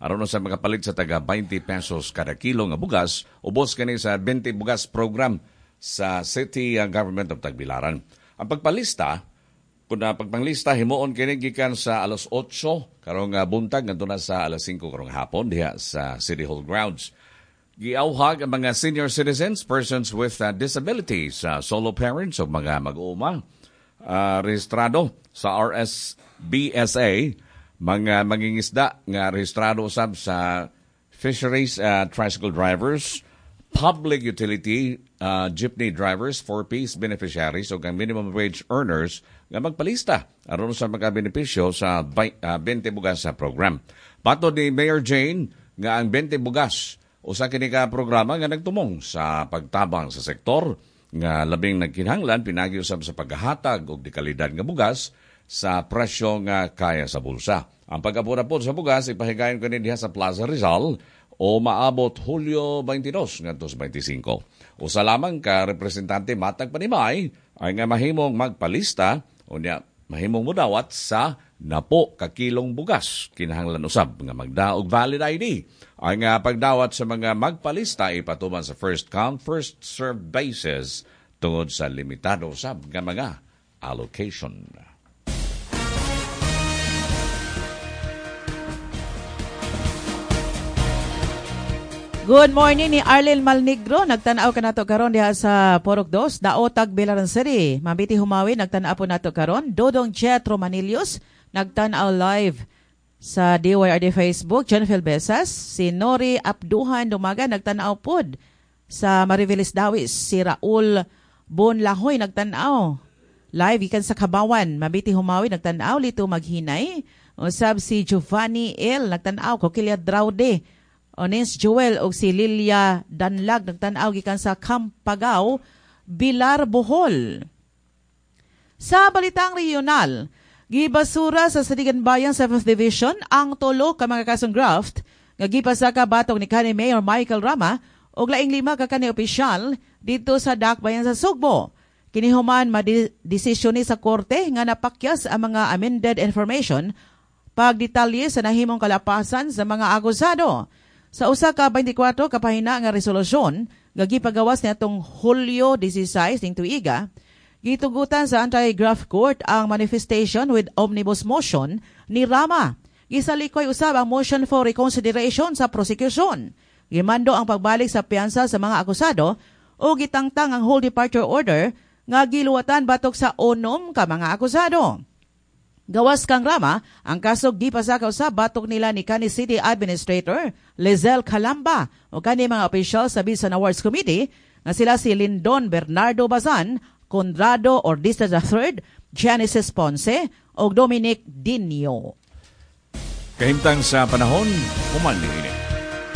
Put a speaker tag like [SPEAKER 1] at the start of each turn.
[SPEAKER 1] Aron sa makapalit sa taga 20 pesos kada kilo nga bugas, ubos kini sa 20 bugas program sa City Government of Tagbilaran. Ang pagpalista, kung na pagpanglista, himuon kini gikan sa alas 8 karong buntag ngadto na sa alas 5 karong hapon diha sa City Hall grounds. Giauhag ang mga senior citizens, persons with disabilities, solo parents o mga mag-uuma, rehistrado sa RSBSA, mga mangingisda nga rehistrado usab sa fisheries, tricycle drivers, public utility, jeepney drivers, 4Ps beneficiaries o ang minimum wage earners nga magpalista aron sa makabenepisyo sa 20 bugas sa program. Patod ni Mayor Jane nga ang 20 bugas usa kini ka programa nga nagtumong sa pagtabang sa sektor nga labing nagkinahanglan pinagi usab sa paghatag og dekalidad nga bugas sa presyo nga kaya sa bulsa. Ang pag-apod-apod sa bugas ipahigayon kini diha sa Plaza Rizal o maabot Hulyo 22 ngadto sa 25. Usa lamang ka representante matag panimay ay nga mahimong magpalista unya mahimong modawat sa napo ka kilong bugas. Kinahanglan usab nga magdaog valid ID. Ang pagdawat sa mga magpalista ipatuman sa first come first serve basis tungod sa limitado usab nga mga allocation.
[SPEAKER 2] Good morning ni Arlene Malnegro. Nagtan-aw ka nato karon diha sa Porok 2, Daotag, Bilaran City. Mabiti Humawi, nagtan-aw po nato karon. Dodong Jetro Manilius, nagtan-aw live sa DYRD Facebook. Jennifer Besas, si Nori Abduhan Dumaga, nagtan-aw pod sa Mariveles Dawis. Si Raul Bonlahoy, nagtan-aw live ikan sa Kabawan. Mabiti Humawi, nagtan-aw Lito Maghinay. Usab si Giovanni L, nagtan-aw Coquilia Draude. Ones Joel og si Lilia Danlag nagtan-aw gikan sa Kampagaw, Bilar, Bohol. Sa balitang regional, gibasura sa Sadigan Bayan 7th Division ang tulo ka mga kasong graft nga gipasaka batok ni kanhi Mayor Michael Rama og laing 5 ka kani opisyal dito sa Dakbayan sa Sugbo. Kini human madesisyon ni sa korte nga napakyas ang mga amended information pagdetalye sa nahimong kalapasan sa mga akusado. Sa usa ka 24 ka pahina nga resolusyon nga gipagawas niadtong Hulyo 16 ning tuiga, gitugutan sa Anti-Graft Court ang manifestation with omnibus motion ni Rama. Gisalikoy usab ang motion for reconsideration sa prosecution. Gimando ang pagbalik sa piyansa sa mga akusado o gitangtang ang whole departure order nga giluwatan batok sa 6 ka mga akusado. Gawas kang Rama, ang kaso gipasakaw sa batok nila ni kanhi City Administrator Lizelle Calamba o kani mga opisyal sa Bisan Awards Committee nga sila si Lindon Bernardo Bazan, Conrado Ordista III, Genesis Ponce o Dominic Dinio.
[SPEAKER 1] Kahimtang sa panahon, human niini.